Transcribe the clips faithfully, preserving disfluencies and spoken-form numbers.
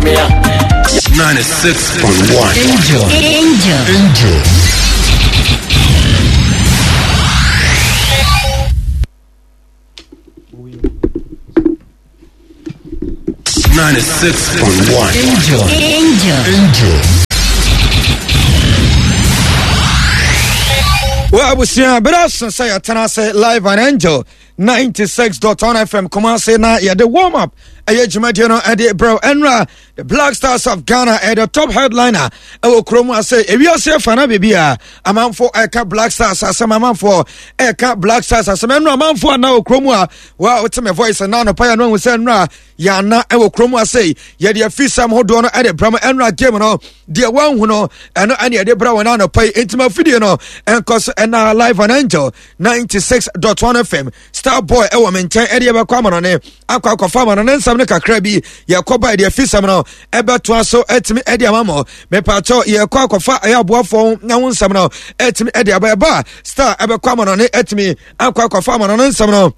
Ninety-six point one. Angel. Angel. Angel. Ninety-six point one. Angel. Angel. Angel. Well, abusua bere aso sɛ yɛtena ase live and angel ninety-six point one F M Kumasi na yɛde warm up ɛyɛ dwumadie no ɛde brɛw ɛnra the Black Stars of Ghana ɛyɛ the top headliner ɛwɔ kurom ase ewiase afa na biribi a amanfo ɛka Black Stars asɛm, amanfo ɛka Black Stars asɛm ɛnra amanfo ana wɔ kurom a wa wote me voice na anɔpa yɛ no ahu sɛ ɛnra yɛana ɛwɔ kurom ase yɛde afisɛm hodoɔ no ɛde brɛ mo ɛnra game no deɛ wɔnhu no ɛno ɛne yɛde brɛ wɔn anɔpa yi ntima fidie no ɛnkɔ so ɛna live on Angel ninety-six point one F M Star Boy ɛwɔ me nkyɛn ɛde yɛbɛkɔ amanɔne akɔ akɔfa amanɔne nsɛm no kakra bi yɛkɔ ba deɛ fisɛm no ɛbɛtoa so ɛtumi ɛde ama mo mepaakyɛw yɛkɔ akɔfa ɛyɛ aboafoɔ na ho nsɛm no ɛtumi ɛde aba ɛba Star ɛbɛkɔ amanɔne ɛtumi akɔ akɔfa amanɔne nsɛm no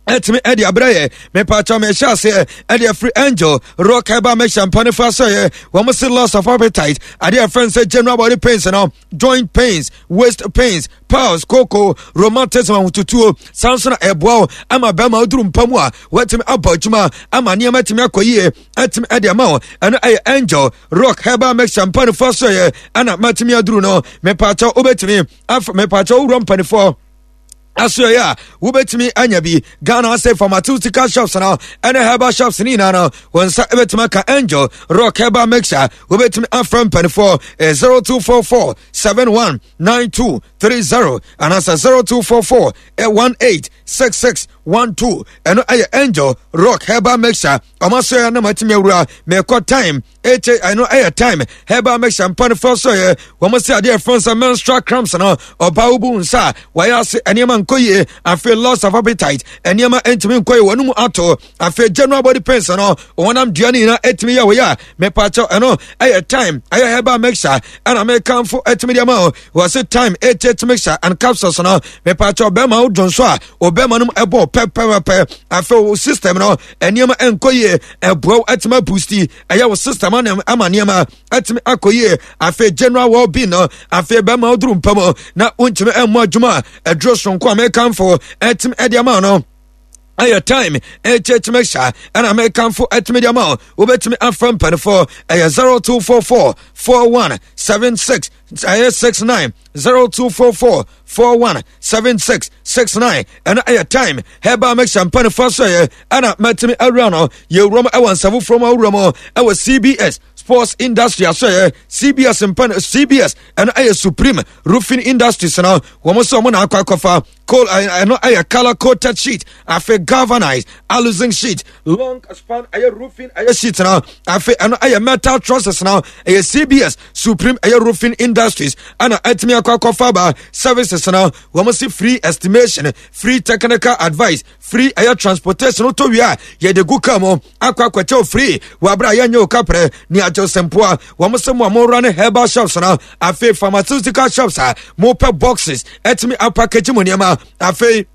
ɛtumi ɛde abrɛ yɛ mepaakyɛw mehyɛ aseɛ ɛde afiri Angel Rock ɛba mehyɛ mpa ne fa so yɛ wɔn se loss of appetite adeɛ ɛfɛn sɛ general body pains no joint pains, waist pains, piles, koko, rheumatism ahotutuo sanso na ɛboa wo ama bɛrima woduru mpa mu a wɔatumi abɔ adwuma ama nneɛma atumi akɔ yie atumi ɛde ama wo ɛno ɛyɛ Angel Rock herbal mixture mpa ne fa so yɛ ɛna matumi aduru no mepaakyɛw wobɛtumi afa mepaakyɛw wowura mpanifoɔ asoɛ a wobɛtumi anya bi Ghana ase pharmaceutical shops no ɛne herbal shops ne nyinaa no wɔn nsa ɛbɛtumi aka Angel Rock herbal mixture wobɛtumi afrɛ mpanifoɔ zero two four four seven one nine two three zero anaasɛ zero two four four one eight six six one two ɛno ɛyɛ Angel Rock herbal mixture ɔmo asoɛ na matumi awura mɛkɔ time ɛkyɛ ɛno ɛyɛ time herbal mixture mpanifoɔ so yɛ wɔn sɛ adeɛ ɛfrɛ sɛ menstrual cramps no ɔbaa wobu nsa a wɔayɛ ase nneɛma nkɔ yie afei loss of appetite nneɛma ntumi nkɔ yie wɔn mu ato afei general body pains no wɔnam dua no nyinaa ɛtumi yɛ wɔyɛ a mepaakyɛw ɛno ɛyɛ time ɛyɛ herbal mixture ɛna mekamfo ɛtumi deɛ ma o wɔse time ɛkyɛ mixture and capsules no mepaakyɛw bɛrima wo dwonso a ɔbɛrima no ɛbɔ pɛpɛpɛ afei wo system no nneɛma nkɔ yie ɛboa wo ɛtumi aboosti ɛyɛ wo system ama nneɛma ɛtumi akɔ yie afei general well being no afei bɛrima woduru mpa mu na wontumi ɛmmɔ adwuma a ɛduro sonko a mekamfo ɛtumi ɛde ama no ɛyɛ time ɛkyɛ mixture ɛna mekamfo ɛtumi de ama wo wobɛtumi afa mpanifoɔ ɛyɛ zero two four four four one seven six ɛyɛ six nine zero two four four four one seven six six nine ɛna ɛyɛ time herbal mixture mpanifoɔ so yɛ ɛna mɛtumi awura no yɛwura mu ɛwɔ nsa foforɔ mu awura mu ɛwɔ C B S Sports Industry aso yɛ C B S mpan C B S ɛno ɛyɛ Supreme Roofing Industries no wɔn nso wɔn na akɔ akɔfa coal ɛno ɛyɛ color coated sheet afei galvanized aluzinc sheet long span ɛyɛ roofing ɛyɛ sheet no afei ɛno ɛyɛ metal trusses no ɛyɛ C B S Supreme ɛyɛ Roofing Industries ɛna ɛtumi akɔ akɔfa ba services no wɔn si free estimation, free technical advice, free ɛyɛ transportation to wia yɛde gu kaa mu akɔ akɔkyɛw free wabra yɛnyɛ wo kaprɛ ne agyew sɛmpoa wɔn sɛ mo a mowura ne herbal shops no afei pharmaceutical shops a mopɛ boxes ɛtumi apackage mo nneɛma afei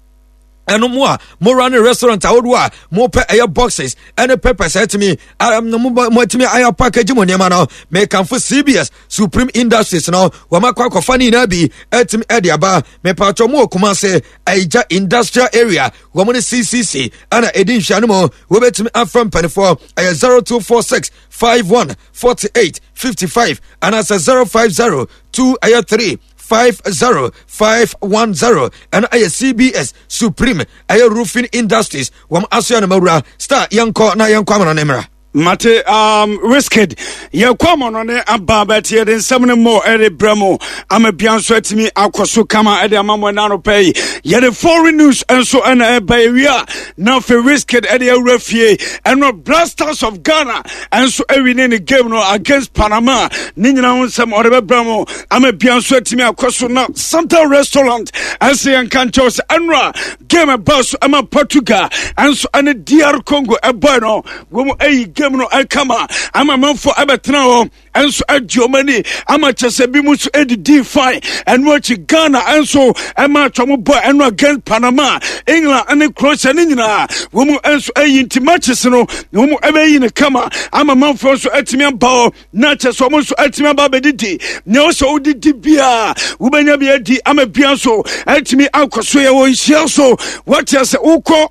ɛno mo a mowura ne restaurant ahodoɔ a mopɛ ɛyɛ boxes ɛne papers ɛtumi moatumi ayɛ package mo nneɛma no mekamfo C B S Supreme Industries no wɔn akɔ akɔfa ne nyinaa bi ɛtumi ɛde aba mepatwɔ mo wɔ Kumase Aija Industrial Area wɔn ne C C C ɛna ɛdi nhwɛ no mu wɔbɛtumi afrɛ mpanifoɔ ɛyɛ zero two four six five one forty eight fifty five anaasɛ zero five zero two ɛyɛ three five zero five one zero ɛno ɛyɛ C B S Supreme ɛyɛ Roofing Industries wɔn asoɛ no mawura Star yɛnkɔ na yɛnkɔ amana ne mmra. Mate um Wizkid yɛkɔ amano ne aba bɛte yɛde nsɛm no mmɔ ɛde brɛ mu ama bia nso atumi akɔ so kama ɛde ama mo ɛna anɔpa yi yɛde foreign news nso ɛna ɛba ewi a na afei Wizkid ɛde awura fie ɛno Black Stars of Ghana ɛnso ɛwi ne ne game no against Panama ne nyinaa ho nsɛm ɔde bɛbrɛ mu ama bia nso atumi akɔ so na Santa Restaurant ɛnso yɛnka nkyɛw sɛ ɛnora game ɛba so ɛma Portugal ɛnso ɛne D R Congo ɛbɔe no wɔn mu ɛyi game no ɛkama ama manfo ɛbɛtena hɔ ɛnso agye ɔmo ani ama kyɛ sɛ bi mu nso ɛdidi fine. Ɛno akyi Ghana ɛnso ɛma atwa mo bɔ ɛno against Panama, England ɛne Croatia ne nyinaa wɔn mu ɛnso ɛyi. Nti matches no wɔn mu ɛbɛyi ne kama ama manfo nso ɛtumi aba hɔ na kyɛ sɛ ɔmo nso ɛtumi aba abɛdidi. Nea ɔsɛ wodidi biara wobɛnya bi adi ama bia nso ɛtumi akɔ so. Yɛ wɔ nhyia so wɔte sɛ wokɔ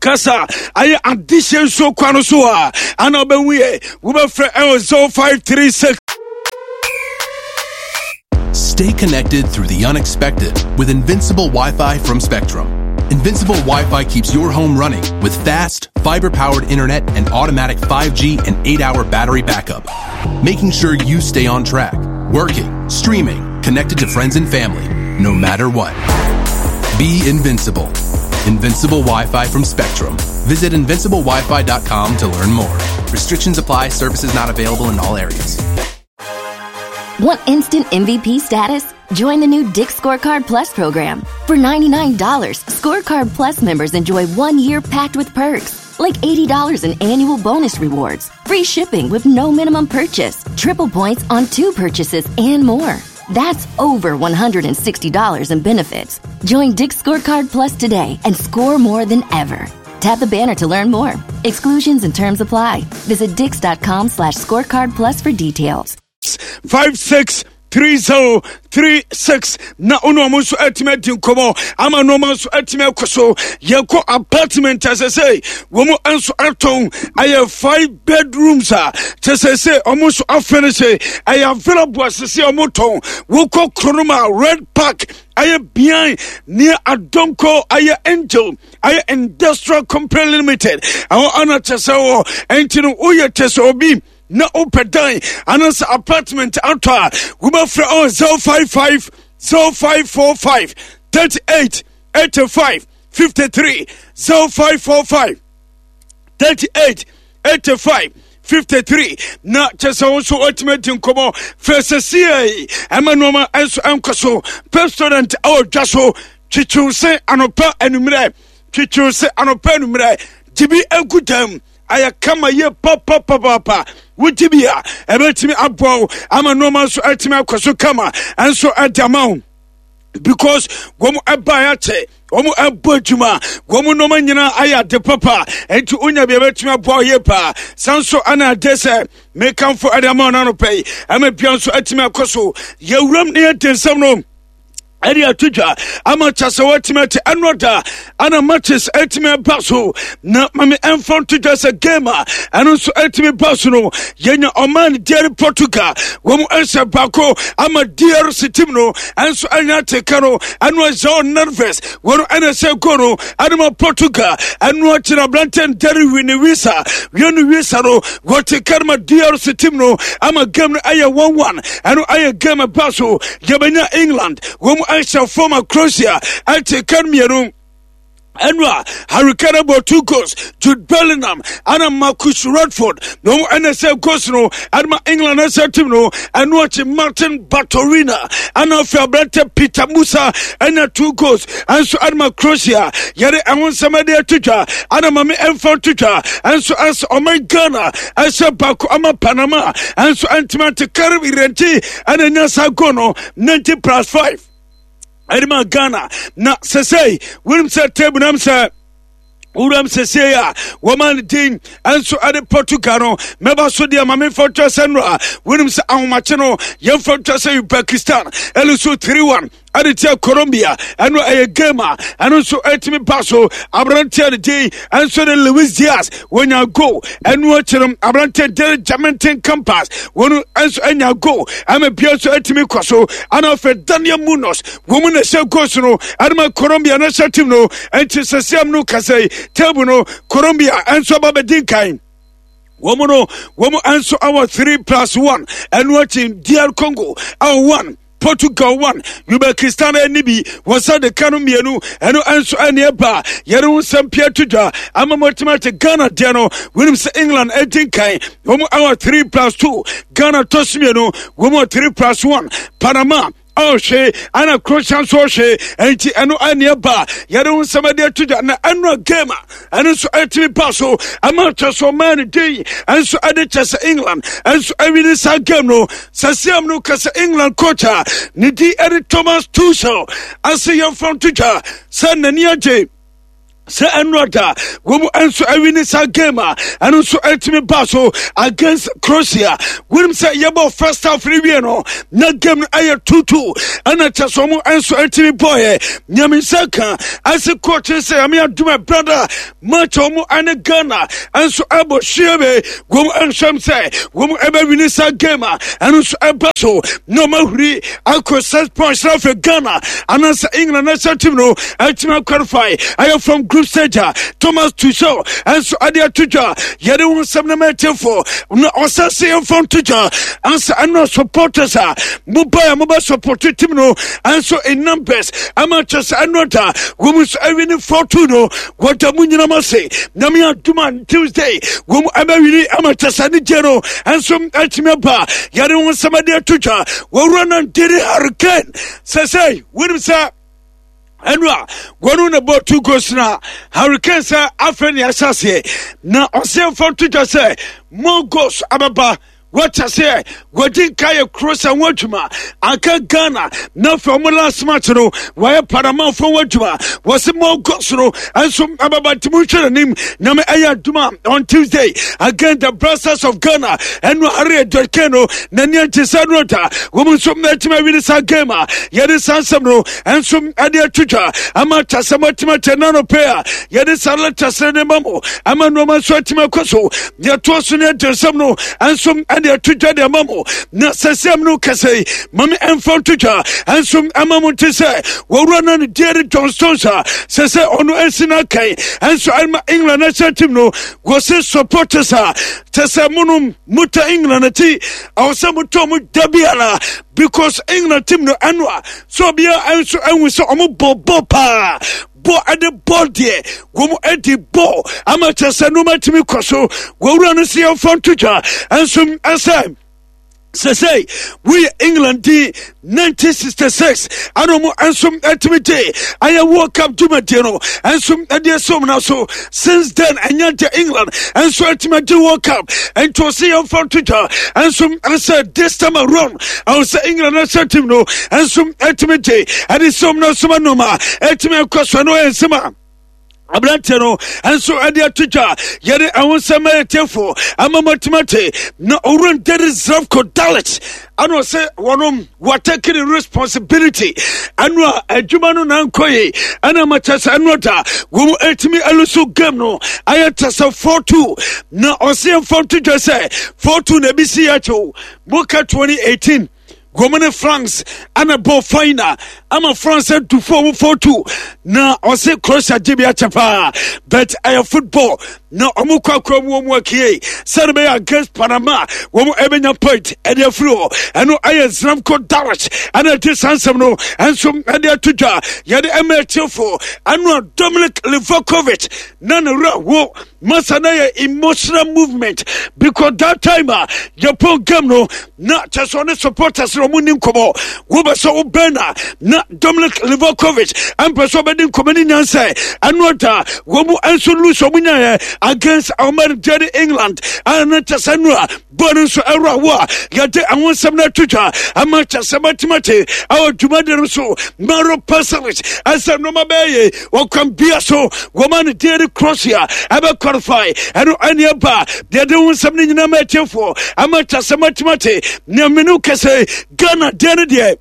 kasa ayɛ adehyɛ nsuo kwa no so a ana wobɛhu yɛ wobɛfrɛ ɛwɔ zero five three six. Stay connected through the unexpected with Invincible Wi Fi from Spectrum. Invincible Wi Fi keeps your home running with fast, fiber powered internet and automatic five G and eight hour battery backup, making sure you stay on track, working, streaming, connected to friends and family, no matter what. Be invincible. Invincible Wi Fi from Spectrum. Visit invincible wi fi dot com to learn more. Restrictions apply, services not available in all areas. Want instant M V P status? Join the new Dick's Scorecard Plus program. For ninety-nine dollars, Scorecard Plus members enjoy one year packed with perks, like eighty dollars in annual bonus rewards, free shipping with no minimum purchase, triple points on two purchases, and more. That's over one hundred sixty dollars in benefits. Join Dick's Scorecard Plus today and score more than ever. Tap the banner to learn more. Exclusions and terms apply. Visit dicks dot com slash scorecard plus for details. five six three zero three six na ɔno ɔmo nso atumi adi nkɔmɔ ama nneɛma nso atumi akɔ so. Yɛkɔ apartment asɛ sɛ wɔn nso atɔn ayɛ five bedrooms a kyɛ sɛ sɛ ɔmo nso afinish, ɛyɛ available asese ɔmo tɔn. Wokɔ kurom a Red Park ayɛ behind near Adonko ayɛ Angel ayɛ Industrial Company Limited ɛwɔ ana kyɛ sɛ wɔ. Ɛnti no woyɛ kyɛ sɛ obi na wopɛ dan anaasɛ apartment atɔ a, wobɛfrɛ ɔ zero five five zero five four five thirty-eight eighty-five fifty-three, zero five four five thirty-eight eighty-five fifty-three na kyɛ sɛ wo nso watumi adi nkɔmmɔ fɛ sɛsiei ɛma nnoɔma nso ɛnkɔ so. Pepsodent ɛwɔ dwa so. Twitwiw se anɔpa anummerɛ, twitwiw se anɔpa anummerɛ, gye bi agu dam, ayɛ kama yie papapapapa. Wogye bi a ɛbɛtumi aboa wo ama nnoɔma nso atumi akɔ so kama ɛnso ɛde ama wo because wɔn ɛbaeɛ akyɛ, wɔn ɛbɔ adwuma, wɔn nneɛma nyinaa ayɛ ade papa. Nti wonya bi ɛbɛtumi aboa wo yie paa. San so ɛna ade sɛ mekamfo ɛde ama wo n'anɔpɛ yi ɛma bia nso atumi akɔ so. Yɛwuram ne yɛde nsɛm no ɛde ato dwa ama kyɛ sɛ woatumi ate. Ɛno da ana matches atumi aba so na mame ɛmfa nto dwa sɛ game a ɛno nso atumi ba so no, yɛnya ɔman deare Portugal wɔ mu ɛhyɛ baako ama D R C team no ɛnso ɛnya ateka no. Ɛno João Neves wɔno ɛna ɛhyɛ goal no ɛde ma Portugal. Ɛno akyi no aberantɛ Ndare wi ne wisa wienu wisa no wɔte ka no ma D R C team no ama game no ɛyɛ one one. Ɛno ɛyɛ game ɛba so. Yɛbɛnya England wɔn mu ɛhyɛ fam a Croatia ɛte ka no mmienu. Ɛno a Harry Kane bɔ two goals, Jude Bellingham ana Marcus Rashford na wɔn ɛna sɛ goals no ɛde ma England ɛsɛ team no. Ɛno akyi Martin Baturina ɛna afei aberante Peter Musa ɛna two goals ɛnso ɛde ma Croatia. Yɛde ɛho nsɛm ɛde ato dwa ɛna maame ɛmfa to dwa ɛnso ɛsɛ ɔman Ghana ɛhyɛ baako ama Panama ɛnso ɛntumi ante. Karim Irenti ɛna nya saa goal no ninety plus five ɛde ma Ghana. Na sɛsɛi wonim sɛ table nam sɛ wuram sɛsei a wɔma no din ɛnso ɛde Portugal no mɛba so deɛ ma memfa ntwa sɛ nnora wonim sɛ ahomakye no yɛmfa ntwa sɛ Uzbekistan ɛne so three one ɛde tia Colombia. Ɛno ɛyɛ game a ɛno nso ɛtumi ba so. Aberanteɛ no din ɛnso de Luis Diaz wɔnya goal. Ɛno akyi no aberanteɛ de Jaminton Campaz wɔn nso anya goal ama bia nso ɛtumi kɔ so. Ana afei Daniel Munoz wɔn mu na ɛhyɛ goals no ɛde ma Colombia na ɛhyɛ team no. Ɛnti sɛsiam no kasa yi table no Colombia ɛnso aba bɛdi nkan. Wɔn no wɔn nso awɔ three plus one. Ɛno akyi D R Congo awɔ one, Portugal one, Uzbekistan ani bi wɔsa de ka no mmienu. Ɛno nso ɛne ɛba yɛde ho nsɛm pia to dwa ama mɔtumi ate. Ghana deɛ no wonim sɛ England adi nkan, wɔn awɔ three plus two. Ghana tɔ so mmienu, wɔn wɔ three plus one. Panama Ɔhwe ana Croatia nso ɔhwe, enti ɛno ɛne ɛba yɛde ho nsɛm ade ato dwa. Na ɛno game a ɛno nso ɛtumi ba so ama kyɛ so ɔman no din ɛnso ɛde kyɛ sɛ England ɛnso ɛwini saa game no. Sɛsiam no kɛ sɛ England coach a ne di ɛde Thomas Tuchel ase yɛmfa nto dwa sɛ n'ani agye sɛ ɛno da wɔn nso awini saa game a ɛno nso ɛtumi ba so against Croatia. Wɔnim sɛ yɛbɔ first half no wie no na game no ɛyɛ two two, ɛna kyɛ sɛ wɔn nso ɛtumi bɔɔyɛ. Nyame nsa ka ɛsɛ coach sɛ Nyame adum brother match wɔn ɛne Ghana nso ɛbɔ hyia be wɔn nhwɛm sɛ wɔn ɛbɛwini saa game a ɛno nso ɛba so na wɔn ahuri akɔ six points, na afei Ghana anaasɛ England national team no ɛtumi qualify ɛyɛ from group stage a Thomas Tuchel ɛnso ɛde ato dwa. Yɛde ho nsɛm no mɛtiefo na ɔsɛ sɛ yɛmfa nto dwa ansa ɛno supporters a mobae a mobɛ support team no ɛnso in numbers ama kyɛ sɛ ɛno da wɔn nso ɛwini four two no, wɔda mu nyinam ase. Nyame adom a, Tuesday wɔn ɛbɛwini ama kyɛ sɛ ne gye no ɛnso ɛtumi aba. Yɛde ho nsɛm ɛde ato dwa. Wɔwura no ndere Harry Kane sɛ sɛ wonim sɛ ɛno a wɔno na bɔ two goals na Harry Kane sɛ afei ne ahyɛ aseɛ na ɔsɛ mfa nto dwa sɛ more goals abɛba. Wɔkyɛ sɛ wɔdi nka yɛ Croatia ho adwuma anka Ghana, na afei ɔmo last match no wɔyɛ Panama fo ho adwuma. Wɔsi mo goals no nso ababa, nti mo nhwɛ n'anim. Nyame ɛyɛ adwuma, on Tuesday against the Black Stars of Ghana, ɛno Harry Edward Kane no n'ani agye sɛ no da wɔn nso ɛtumi awini saa game a yɛde saa nsɛm no nso ɛde atwitwa ama kyasɛm atumi akyɛ nano pɛ a yɛde saa letters ne ma mo ama nneɛma nso atumi akɔ so. Yɛtoa so ne ɛde nsɛm no nso ɛde ato dwa de ama mo. Na sɛsɛm no kɛsɛ yi mame ɛmfa nto dwa ɛnso ama mo nte sɛ wɔwura no ne deɛ John Stones a sɛ sɛ ɔno ɛsi no akan ɛnso ɛma England national team no, wɔse supporters a kyɛ sɛ monom mota England akyi, ɛwɔ sɛ motɔ mo da biara because England team no ɛno a sɛ obiara ɛnso ɛhu sɛ ɔmo bɔ bɔ paa, bɔ ɛde bɔ deɛ wɔn ɛde bɔ ama kyɛ sɛ nneɛma tumi kɔ so. Wɔwura no si yɛmfa nto dwa ɛnso ɛsɛ sɛsɛ woyɛ England di nineteen sixty-six ana ɔmo nso atumi gye ayɛ World Cup dwumadie no nso ɛde ɛsɛ ɔmo na so. Since then ɛnyɛ gye England nso atumi agye World Cup, nti ɔsɛ yɛmfa nto dwa nso ɛsɛ this time around ɛwɔ sɛ England national team no nso atumi gye ɛde sɛ ɔmo na so ma nneɛma atumi akɔ so. Ɛno yɛ nsɛm a aberanteɛ no nso ɛde ato dwa. Yɛde ɛho nsɛm ɛyɛ ama matimate. Na owura Ndere Zlatko Dalic ɛna ɔsɛ wɔnom wɔtake the responsibility ɛno a adwuma no nankɔ yi, ɛna ma kyɛ sɛ ɛno da wɔn ɛtumi ɛlose game no ayɛ kyɛ sɛ four two. Na ɔsɛ yɛmfa nto dwa sɛ four two na ebi si yɛ akyew moka twenty eighteen wɔn ne France ɛna bɔ final ama France adu four four two. Na ɔse Croatia gye bi akyɛ paa, but ɛyɛ football na ɔmo kɔ akora mu wɔn akie sɛde bɛyɛ against Panama wɔn ɛbɛnya point ɛde afiri hɔ. Ɛno ɛyɛ Zlatko Dalic ɛna ɛte saa nsɛm no ɛnso ɛde ato dwa. Yɛde ɛma akyefo. Ɛno a Dominic Livakovic na ne werɛ wo masa na yɛ emotional movement because that time a Japan game no na kyɛ sɛ ɔne supporters na ɔmo ni nkɔmɔ. Wobɛ sɛ wobɛn na na Dominic Livakovic ɛmpɛ sɛ ɔbɛdi nkɔmɔ ne nyansɛ. Ɛno da wɔn mu nso lose ɔmo nyaeɛ against ɔman Jerry England, ɛno kyɛ sɛ no a bɔɔl no nso ɛwura wo a yɛde ɛho nsɛm no ato dwa ama kyɛ sɛ matemate ɛwɔ dwumadi no so. Mario Pasalic ɛsɛ nneɛma bɛyɛ wɔkwan bia so wɔma no deɛ de Croatia ɛbɛ qualify. Ɛno ɛne ɛba deɛ de ho nsɛm no nyinaa ma atiefoɔ ama kyɛ sɛ matemate. Nea mene kɛsɛ Ghana deɛ no deɛ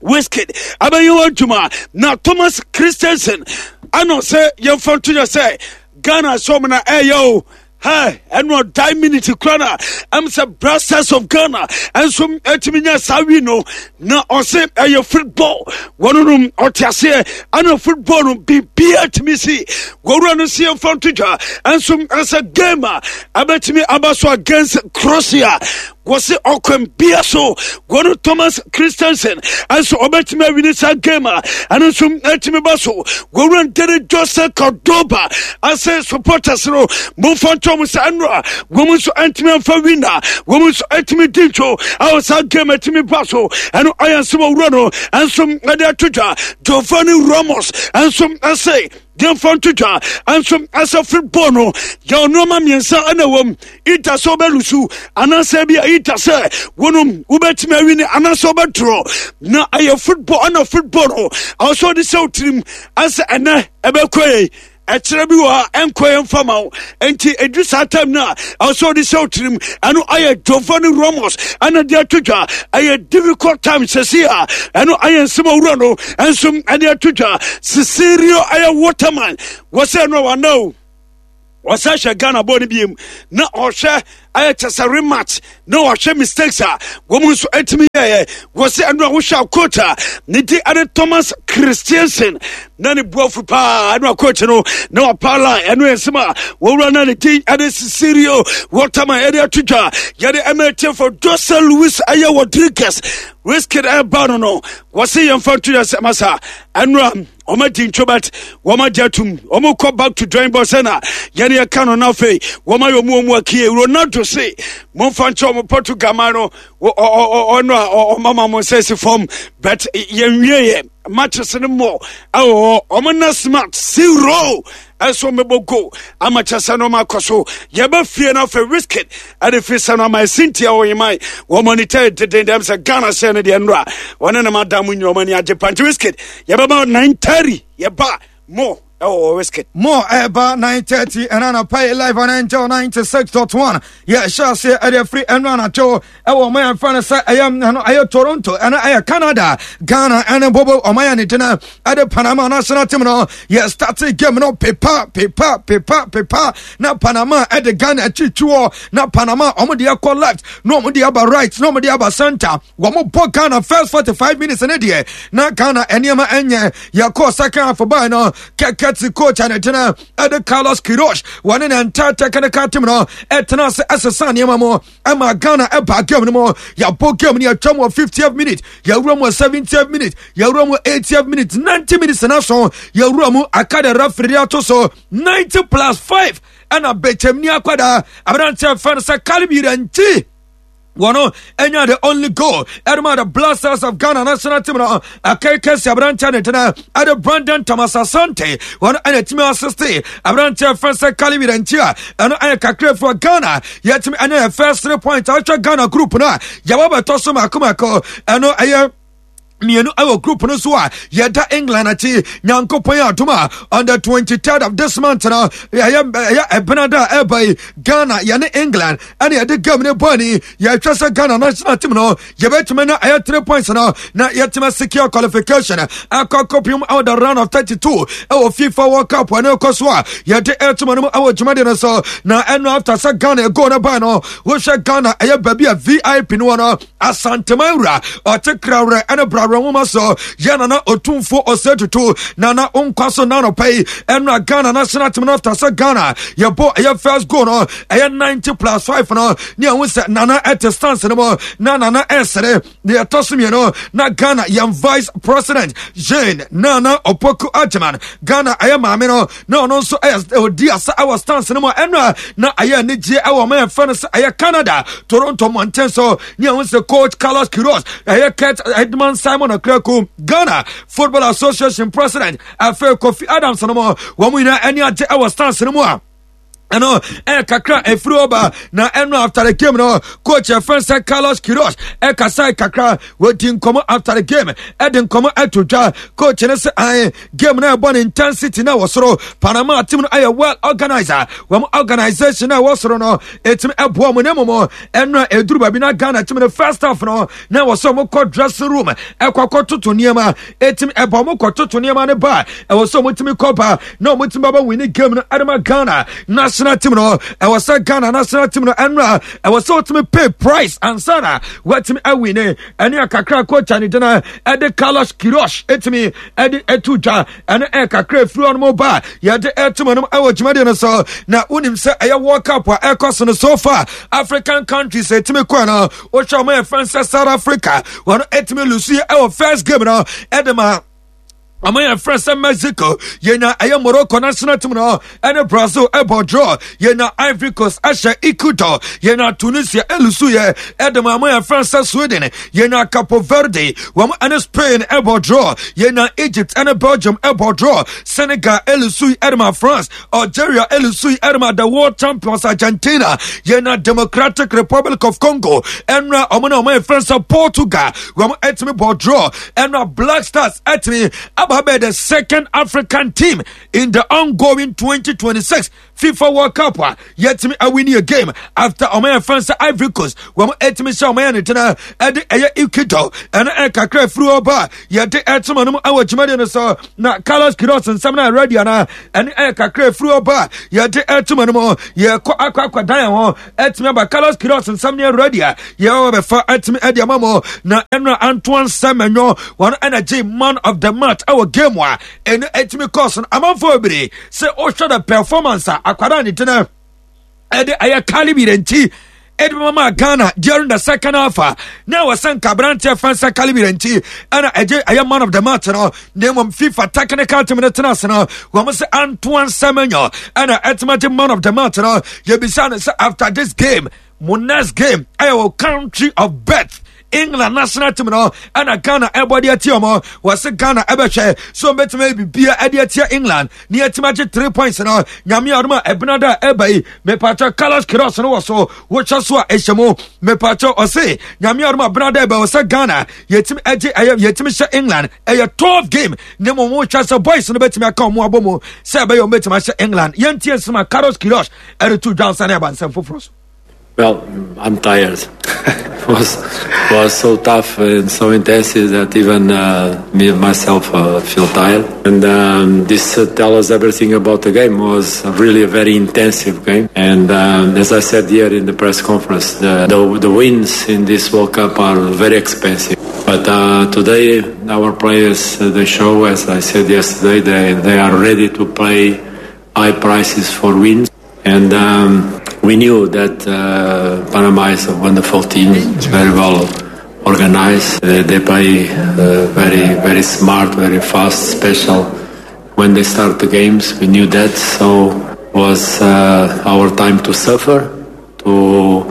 Wizkid abɛyɛ wɔ adwuma na Thomas Christensen ɛna sɛ yɛmfa nto yɛ sɛ Ghana sɛ ɔmo na ɛyɛ o. Hey, ɛno ɔdae minute kora na ɛm sɛ Black Stars of Ghana ɛnso ɛtumi nya saa wi no. Na ɔse ɛyɛ football, wɔno no ɔte aseɛ ɛna football no biribia tumi si. Wɔwura no si yɛmfa nto dwa ɛnso ɛsɛ game a ɛbɛtumi aba so against Croatia. Wɔse ɔkwan bia so wɔno Thomas Christensen ɛnso ɔbɛtumi awini saa game a ɛno nso ɛtumi ba so. Wɔwura Dere Jose Cordoba ase supporters no momfa ntɔ mu sɛ ɛno a wɔn nso ɛntumi amfa win a wɔn nso ɛtumi di ntwo a saa game ɛtumi ba so. Ɛno ayɛ nsɛm owura no ɛnso ɛde ato dwa. Giovanni Ramos ɛnso ɛsɛ yɛmfa nto dwa ɛnso ɛsɛ football no yɛ nneɛma mmiɛnsa ɛna wɔm ita sɛ wobɛlusu anaasɛ bi a ita sɛ wɔnom wobɛtumi awini anaasɛ wobɛdorɔ na ɛyɛ football. Ɛna football no ɛwɔ sɛ wode sɛ wo tirim ɛsɛ ɛnɛ ɛbɛkɔ yɛ ɛkyerɛ bi wɔ ha ɛnkɔ yɛn fama wo, nti ɛduru saa time no a ɛwɔ sɛ wode sɛ wo tirim. Ɛno ayɛ Giovanni Ramos ɛna de ato dwa. Ɛyɛ difficult time sɛsi a ɛno ayɛ nsɛm owura no ɛnso ɛde ato dwa. Cecilio ɛyɛ Waterman wɔ sɛ ɛno a wana o wɔsɛ hwɛ Ghana bɔɔl no biem na ɔhwɛ ɛyɛ kyɛ sɛ rematch na ɔhwɛ mistakes a wɔn nso atumi yɛɛ. Wɔsɛ ɛno a wohwɛ a coach a ne di ɛne Thomas Christiansen na ne buafu paa. Ɛno a coach no na wapa line ɛno yɛ nsɛm a wɔwura na ne din ɛne Cecilio Waterman ɛde ato dwa. Yɛde ɛma etiefo Jose Luis ɛyɛ Rodriguez Wizkid ɛba no no wɔsɛ yɛmfa nto yɛ sɛ masa ɛno a wɔn adi ntwo but wɔn agye atum wɔn kɔ back to drawing board sɛ na yɛne yɛka no. Na afei wɔn ayɛ wɔn wɔn akie Ronaldo se momfa nkyɛn wɔn Portugal man no ɔno a ɔmama mo nsa si fam but yɛnwie yɛ matches no mmɔ ɛwɔ hɔ. Wɔn na smart zero ɛso mɛbɔ goal ama kyɛ sɛ no ma akɔ so. Yɛbɛ fie no afei Wizkid ɛde firi sɛ no ama ɛsintia wɔ yeman wɔn monitor deden dɛm sɛ Ghana hyɛ no deɛ nnora wɔne ne madam nyina wɔn ani agye panti. Wizkid yɛbɛma nine thirty yɛba mo ɛwɔ Wizkid. Mo ɛba nine thirty ɛna anapa yi live on Angel ninety six dot one. Yɛhyɛ aseɛ ɛde afiri ɛno anadwo ɛwɔ ɔman yɛn fɛn no sɛ ɛyɛ ɛno ɛyɛ Toronto, ɛno ɛyɛ Canada. Ghana ɛne bobo ɔman yɛn ne gyina ɛde Panama national team no. Yɛ start game no pepa pepa pepa pepa na Panama ɛde Ghana akyikyi hɔ na Panama ɔmo de ɛkɔ left na ɔmo de aba right na ɔmo de aba center. Wɔn bɔ Ghana first forty five minutes ne deɛ na Ghana nneɛma ɛnyɛ. Yɛkɔ second half baa no kɛkɛ ti coach a ne gyina ɛde Carlos Queiroz wɔne ne entire technical team no ɛtena ase ɛsesa nneɛma mu ɛma Ghana ɛba game no mu. Yɛabɔ game no, yɛtwa mu wɔ fiftieth minute, yɛwura mu wɔ seventieth minute, yɛwura mu eightieth minute, ninety minutes na so yɛwura mu aka de referee ato so ninety plus five ɛna bɛkyɛmni akwadaa aberanteɛ fɛn no sɛ Caleb Yirenkyi wɔno ɛnya the only goal ɛdema the Black Stars of Ghana national team no. Akɛkɛ si aberanteɛ ne tena ɛde Brandon Thomas Asante wɔno ɛna ɛtumi assist aberanteɛ fɛn sɛ Caleb Yirenkyi a ɛno ɛyɛ kakra fo Ghana yɛtumi ɛne yɛ first three points. Ahwɛ Ghana group no a yɛwɔ bɛtɔ so mako mako, ɛno ɛyɛ mmienu ɛwɔ group no so a yɛda England akyi. Nyankopɔn adom a on the twenty-third of this month no ɛyɛ ɛyɛ ɛbena da a ɛba yi, Ghana yɛne England ɛne yɛde game no bɔ ani. Yɛhwɛ sɛ Ghana national team no yɛbɛtumi na ɛyɛ three points no na yɛtumi secure qualification ɛkɔ kɔpem ɛwɔ the round of thirty-two ɛwɔ FIFA World Cup ɛne ɛkɔ so a yɛde ɛtuma no mu ɛwɔ dwumadi no so. Na ɛno after sɛ Ghana goal no ba no, wohwɛ Ghana ɛyɛ baabi a V I P no wɔ no, Asanteman wura ɔte krawerɛ ɛne brawerɛ nwoma so yɛ Nana Otumfuo Ɔsɛ Tutu. Nana nkwa so nanɔpɛ yi. Ɛno a Ghana national team no after sɛ Ghana yɛbɔ ɛyɛ first goal no ɛyɛ ninety plus five no ne ɛho sɛ Nana ɛte stance no mu na Nana ɛsere deɛ ɛtɔ so mmienu na Ghana yɛn Vice President Jane Nana Opoku Agyeman, Ghana ɛyɛ maame no, na ɔno nso ɛyɛ ɔdi asa ɛwɔ stance no mu. Ɛno a na ɛyɛ anigyeɛ ɛwɔ ɔman yɛfrɛ no sɛ ɛyɛ Canada Toronto mmɔnten so ne ɛho sɛ coach Carlos Queiroz, ɛyɛ Kurt Edmund Simon Okraku, Ghana Football Association president, afei Kofi Adams no mu wɔn nyinaa ani agye ɛwɔ stance no mu a ɛno ɛyɛ kakra ɛfiri ɔba. Na ɛno after the game no, coach ɛfɛn sɛ Carlos Queiroz ɛkasa kakra, wɔdi nkɔmɔ after the game, ɛde nkɔmɔ ɛto dwa. Coach no sɛ ɛn game no ɛbɔ ne intensity na wɔ soro. Panama team no ɛyɛ well organizer, wɔn organisation na ɛwɔ soro no ɛtumi ɛboa wɔn. Ne mmom ɛno a ɛduru baabi na Ghana team no first half no na ɛwɔ sɛ wɔn kɔ dressing room ɛkɔ akɔ toto nneɛma, ɛtumi ɛbɔ wɔn kɔ toto nneɛma no ba ɛwɔ sɛ wɔn tumi kɔ ba na wɔn tumi baba win game no ɛde ma Ghana national National team no, ɛwɔ sɛ Ghana national team no ɛnora ɛwɔ sɛ wotumi pay price ansa na watumi awin. Ɛne akakra coach a ne gyina ɛde Carlos Queiroz ɛtumi ɛde ɛto dwa. Ɛne ɛkakra efiri hɔ nom ba yɛde ɛto nom ɛwɔ dwumadie no so. Na wonim sɛ ɛyɛ World Cup a ɛkɔ so no, so far African countries ɛtumi kɔ no, wohwɛ ɔmo yɛ fɛn sɛ South Africa, wɔn ɛtumi lose ɛwɔ first game no ɛde ma ɔmo yɛ frɛ sɛ Mexico. Yɛnya ɛyɛ Morocco national team no ɛne Brazil ɛbɔ draw. Yɛnya Ivory Coast ɛhyɛ Ecuador. Yɛnya Tunisia ɛlose yɛ ɛde ma ɔmo yɛ frɛ sɛ Sweden. Yɛnya Capo Verde, wɔn ɛne Spain ɛbɔ draw. Yɛnya Egypt ɛne Belgium ɛbɔ draw. Senegal ɛlose ɛde ma France. Algeria ɛlose ɛde ma the world champions Argentina. Yɛnya Democratic Republic of Congo, ɛnra ɔmo na ɔmo yɛ frɛ sɛ Portugal, wɔn ɛtumi bɔ draw. Ɛnra Black Stars ɛtumi aba bɛyɛ the second African team in the ongoing twenty twenty-six FIFA World Cup a yɛtumi awin a game after ɔmo yɛ fɛn sɛ Ivory Coast, wɔn ɛtumi hyɛ ɔmo yɛ ne tena ɛde ɛyɛ Ecuador. Ɛno ɛkakra firi hɔ ba yɛde ɛtoma no mu ɛwɔ dwumadie no so. Na Carlos Queiroz nsɛm no ready ana? Ɛne ɛkakra firi hɔ ba yɛde ɛtoma no mu. Yɛkɔ akɔ akɔdan yɛn ho, ɛtumi aba. Carlos Queiroz nsɛm no ready a yɛwɔ bɛfa ɛtumi ɛde ama mo. Na ɛno Antoine Semenyo, wɔn ɛna gye man of the match ɛwɔ game a ɛno ɛtumi kɔɔ so no. Amanfoɔ bebree sɛ ɔhwɛ the performance a akwadaa ne tena ɛde ɛyɛ Caleb Yirenkyi ɛde mama Ghana during the second half a na ɛwɔ sɛ nka aberanteɛ fɛn sɛ Caleb Yirenkyi ɛna ɛgye ɛyɛ man of the match no. Na mmom FIFA technical team no tena ase no, wɔn sɛ Antoine Semenyo ɛna ɛtuma gye man of the match no. Yɛbisa no sɛ after this game, mo next game ɛyɛ wɔ country of birth England national team no ɛna Ghana ɛbɔ de atia ɔmo. Wɔsi Ghana ɛbɛhwɛ so ɔmbɛtumi ayɛ bibia ɛde atia England ne yɛtumi agye three points no. Nyame adom a, ɛbena da a ɛba yi, mepatwɛ, Carlos Queiroz no wɔ so wohyɛ so a ɛhyɛ mu. Mepatwɛ, ɔse Nyame adom a, bena da ɛba wɔ sɛ Ghana yɛtumi agye ɛyɛ yɛtumi hyɛ England. Ɛyɛ twelve game ne mo mo hwɛ sɛ boys no bɛtumi aka ɔmo abɔ mu sɛ ɛbɛyɛ ɔmo bɛtumi ahyɛ England. Yɛntie nsɛm a Carlos Queiroz ɛde to dwa nsa ne aba nsɛm foforɔ so. Well, I'm tired. It was was so tough and so intensive that even uh, me myself uh, feel tired. And um, this uh, tells us everything about the game. It was really a very intensive game. And um, as I said here in the press conference, the, the, the wins in this World Cup are very expensive. But uh, today, our players, uh, they show, as I said yesterday, they, they are ready to pay high prices for wins. And um, we knew that uh, Panama is a wonderful team, very well organized. They, they play uh, very, very smart, very fast, special. When they start the games, we knew that. So was uh, our time to suffer, to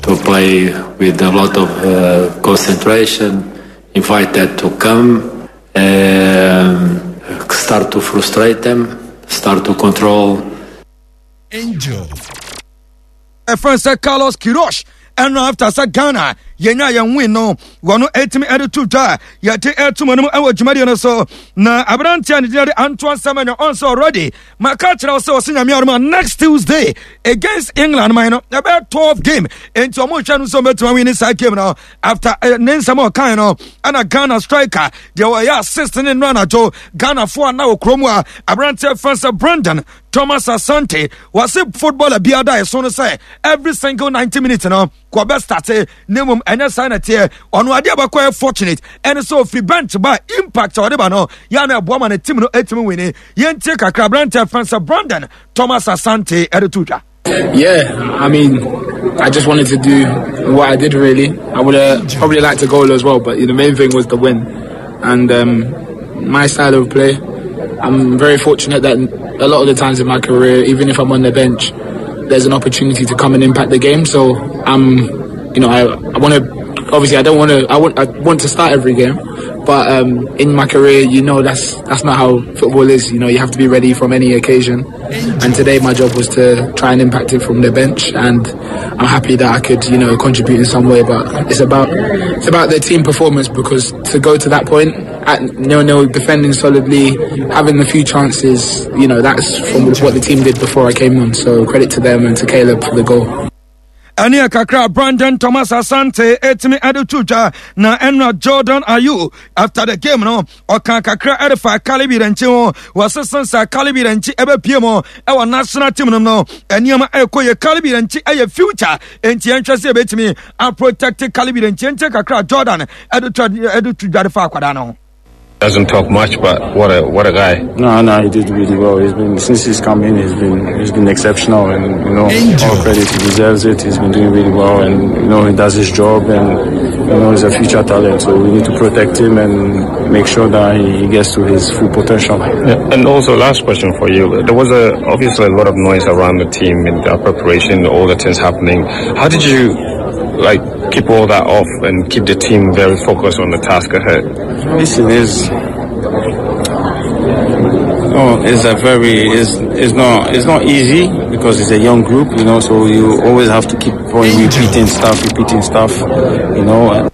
to play with a lot of uh, concentration, invite that to come, um, start to frustrate them, start to control. Angel. Ɛfɛn sɛ Carlos Queiroz, ɛno after sɛ Ghana yɛnya yɛn win no, wɔno ɛtumi ɛde to dwa a yɛde ɛto mu no ɛwɔ dwumadie no so. Na aberanteɛ a ne din de Antoine Semenyo, ɔnsɛ already maka kyerɛ wo sɛ ɔsɛ Nyame adom a, next Tuesday against England man no ɛbɛyɛ twelve game, enti ɔmo hwɛ no sɛ ɔmɛtumi awin saa game no. After eh, ne nsɛm a ɔkae no, ɛna Ghana striker deɛ ɔyɛ assist ne nnora anadwo Ghanafoɔ a na wɔ kurom a aberanteɛ fɛn sɛ Brandon Thomas Asante, wɔse footballer biara da ɛso no sɛ every single ninety minutes no kɔbɛ start. Ne mmom ɛnyɛ saa na teɛ. Ɔno adeɛ bɛkɔ yɛ fortunate ɛne sɛ ofiri bench ba, impact a ɔde ba no yɛ na ɛboa ma ne team no ɛtumi win. Yɛntie kakra aberanteɛ fɛn sɛ Brandon Thomas Asante ɛde to dwa. Yeah, I mean, I just wanted to do what I did. Really, I would have probably liked to goal as well, but the main thing was the win. And um, my style of play, I'm very fortunate that a lot of the times in my career, even if I'm on the bench, there's an opportunity to come and impact the game. So I'm, you know, I, I want to. Obviously, I don't want to. I want. I want to start every game, but um, in my career, you know, that's that's not how football is. You know, you have to be ready from any occasion. And today, my job was to try and impact it from the bench, and I'm happy that I could, you know, contribute in some way. But it's about it's about the team performance, because to go to that point at nil nil, defending solidly, having the few chances, you know, that's from what the team did before I came on. So credit to them and to Caleb for the goal. Ɛne kakra Brandon Thomas Asante ɛtumi ɛde to dwa na ɛnura Jordan Ayew after the game no ɔka kakra ɛde fa Caleb Yirenkyi ho. Wɔsesa sa Caleb Yirenkyi ɛbɛpie mu ɛwɔ national team no no nneɛma ɛkɔ yɛ. Caleb Yirenkyi ɛyɛ future, enti yɛnhwɛ sɛ yɛbɛtumi aprotect Caleb Yirenkyi. Nkyɛn kakra Jordan ɛde to ɛde to dwa de fa akwadaa no ho. Doesn't talk much, but what a what a guy. No, no, he did really well. He's been since he's come in, he's been he's been exceptional, and you know, all credit, he deserves it. He's been doing really well, and you know, he does his job, and you know, he's a future talent. So we need to protect him and make sure that he, he gets to his full potential. Yeah. And also, last question for you: there was a obviously a lot of noise around the team in the preparation, all the things happening. How did you like keep all that off and keep the team very focused on the task ahead? Listen, is oh, it's a very it's it's not it's not easy because it's a young group, you know. So you always have to keep on repeating stuff, repeating stuff, you know.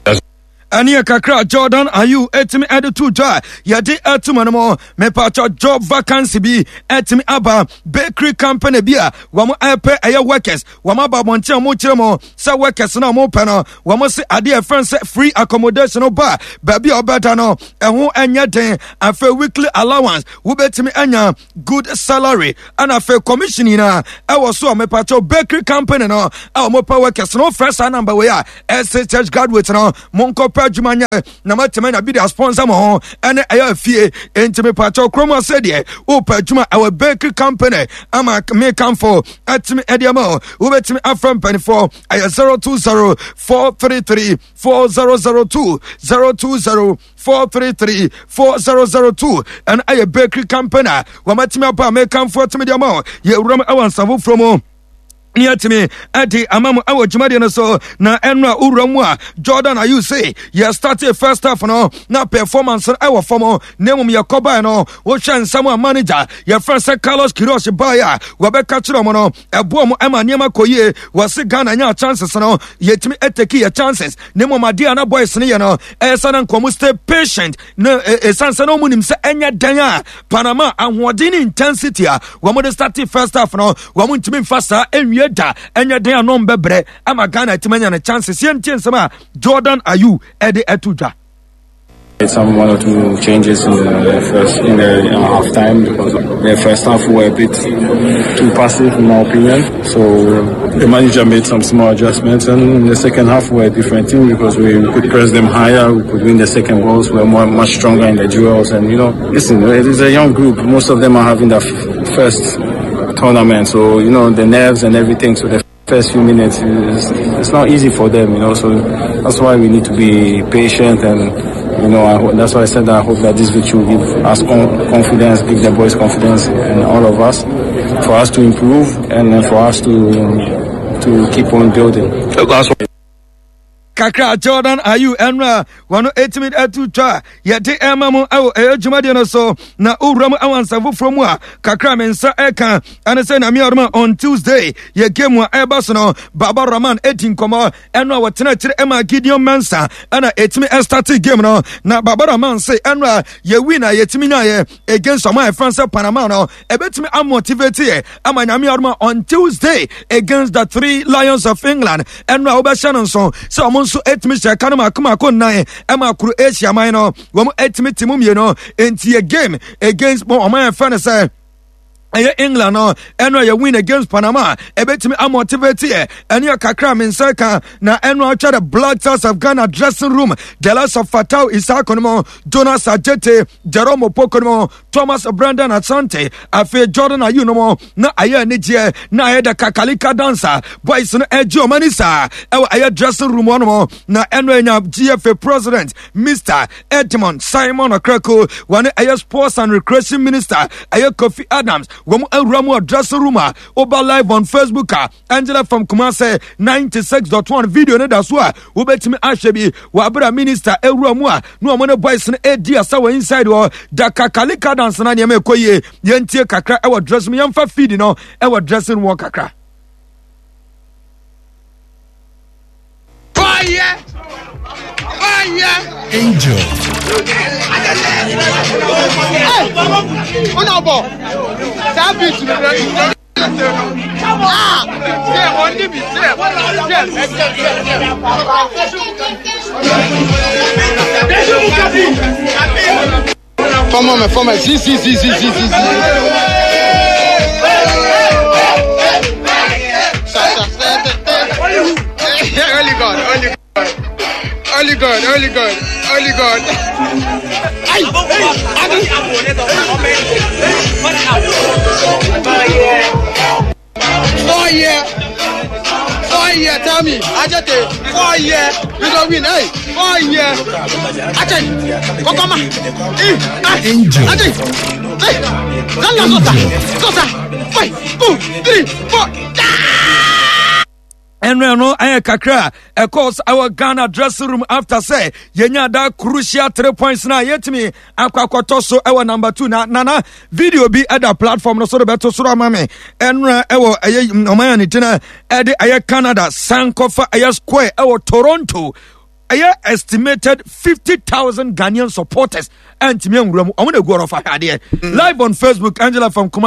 Ɛne kakra Jordan Ayew ɛtumi ɛde to dwa. Yɛde ɛtum no mu mepatɔ job vacancy bi ɛtumi aba, bakery company bi a wɔn ɛpɛ ɛyɛ workers. Wɔn aba abɔnten a wɔn kyerɛ mu sɛ workers no a wɔn pɛ no, wɔn se adeɛ ɛfɛn sɛ free accommodation no ba baabi a ɔbɛda no ɛho ɛnyɛ den. Afei weekly allowance, wobɛtumi anya good salary, ɛna afei commission nyinaa ɛwɔ so a mepatɔ bakery company no a wɔn pɛ workers no, wɔfrɛ saa number wei a ɛsɛ church graduate no monkɔ pɛ adwuma nyɛ na matumi anya bi de asponsor mo ho ɛne ɛyɛ afie. Enti mepatɔ kurom ase deɛ wopɛ adwuma ɛwɔ bakery company ama mekamfo atumi ɛde ama wo, wobɛtumi afrɛ mpanimfoɔ ɛyɛ zero two zero four three three four zero zero two, zero two zero four three three four zero zero two. Ɛno ɛyɛ bakery company a wɔmatumi aba a mekamfo atumi de ama wo. Yɛwuram ɛwɔ nsa foforɔ mu ne atumi ɛde ama mo ɛwɔ dwumadie no so. Na ɛno a wowura mu a Jordan Ayew se yɛ start first half no na performance no ɛwɔ fam, na mmom yɛkɔbae no wohwɛ nsɛm a manager yɛfrɛ sɛ Carlos Queiroz baeɛ a wɔbɛka kyerɛ mo no ɛboɔ mo ɛma nneɛma kɔ yie. Wɔse Ghana nya chances no, yɛtumi ɛtake yɛ chances, na mmom adeɛ a na boys no yɛ no ɛyɛ sɛ na nkɔmo stay patient na ɛsiane sɛ na ɔmu nim sɛ ɛnyɛ dan a Panama ahoɔden ne intensity a wɔn de start first half no, wɔn ntumi nfa saa ɛnwie da. Ɛnyɛ den a no mbɛbrɛ ama Ghana atumi anya ne chances. Yɛntie nsɛm a Jordan Ayew ɛde ɛto dwa. Some one or two changes in the first in the half time because the first half we were a bit too passive in my opinion. So the manager made some small adjustments, and in the second half we were a different team because we, we could press them higher, we could win the second balls, we were more, much stronger in the duels, and you know, listen, it is a young group. Most of them are having their first tournament, so you know the nerves and everything. So the first few minutes is it's not easy for them, you know. So that's why we need to be patient and you know, I, that's why I said that I hope that this victory will give us confidence, give the boys confidence, and all of us, for us to improve and for us to to keep on building. Kakra Jordan Ayew ɛno a wɔno ɛtumi atu twa a yɛde ɛma mo ɛwɔ ɛyɛ dwumadeɛ no so. Na wowura mu ɛwɔ nsa foforɔ mu a kakra me nsa ɛka ɛne sɛ Nyame adom on Tuesday yɛ game a ɛba so no, Baba Rahman ɛdi nkɔmmɔ. Ɛno a wɔtena akyire ɛma Gideon Mensa ɛna ɛtumi ɛstart game no, na Baba Rahman se ɛno a yɛwi na yɛtumi nyaeɛ against ɔmo a ɛfrɛ sɛ Panama no ɛbɛtumi amotivate yɛ ama Nyame adom on Tuesday against the Three Lions of England. Ɛno a wobɛhyɛ no nso sɛ ɔmo nso ɛtumi hyɛ ka no maako maako nnan ɛma Croatia man no wɔn ɛtumi te mu mmienu. Nti yɛ game against ɔmo a yɛfrɛ no sɛ ɛyɛ England no, ɛno ɛyɛ win against Panama ɛbɛtumi amotivate yɛ. Ɛne kakra me nsa ka na ɛno atwa the Black Stars of Ghana dressing room, the likes of Fatau Issahaku no mo, Jonas Adjetey, Jerome Opoku no mo, Thomas Brandon Asante, afei Jordan Ayew no mo, na ayɛ anigyeɛ na ayɛ the kakalika dancer boys no ɛgye ɔma ni saa ɛwɔ ɛyɛ dressing room hɔ no. Na ɛno ɛnya G F A president Mister Edmond Simon Okraku, wɔne ɛyɛ sports and recreation minister ɛyɛ Kofi Adams, wɔn awura mu wɔ dressing room a woba live on Facebook a Angela from Kumase ninety-six point one video no da so a wobɛtumi ahwɛ bi wɔ abere a minister awura mu a na wɔn ne boys no edi asa wɔ inside hɔ da kakalika dance na nneɛma ɛkɔ yie. Yɛntie kakra ɛwɔ dressing room, yɛmfa feed no ɛwɔ dressing room hɔ kakra. Fire! Fire! Angel. Hey! Una bɔ. Saa beat no. Fọmọ fọmọ si si si si si si si. Only God, only God, only God, only God, only God. Ay, Four year, four year. Tell me, Ajete, four year. We go win, hey, four year. Ajay, Kokoma, eh, Angel. Ajay, hey, Zanga Zota, Zota, five, two, three, four. ɛno no ɛyɛ kakra ɛkɔs ɛwɔ ghana dressing room after sɛ yɛnya da crucial three points na yɛtumi akɔ akɔtɔ so ɛwɔ number two na nana video bi ɛda platform no so de bɛto soro ama me ɛnora ɛwɔ ɛyɛ ɔman a ne gyina ɛde ɛyɛ canada sankɔfa ɛyɛ square ɛwɔ toronto ɛyɛ estimated fifty thousand ghanaian supporters ɛntumi nwura mu ɔmo na egu ɔrɔfa adeɛ live on facebook angela from kuma.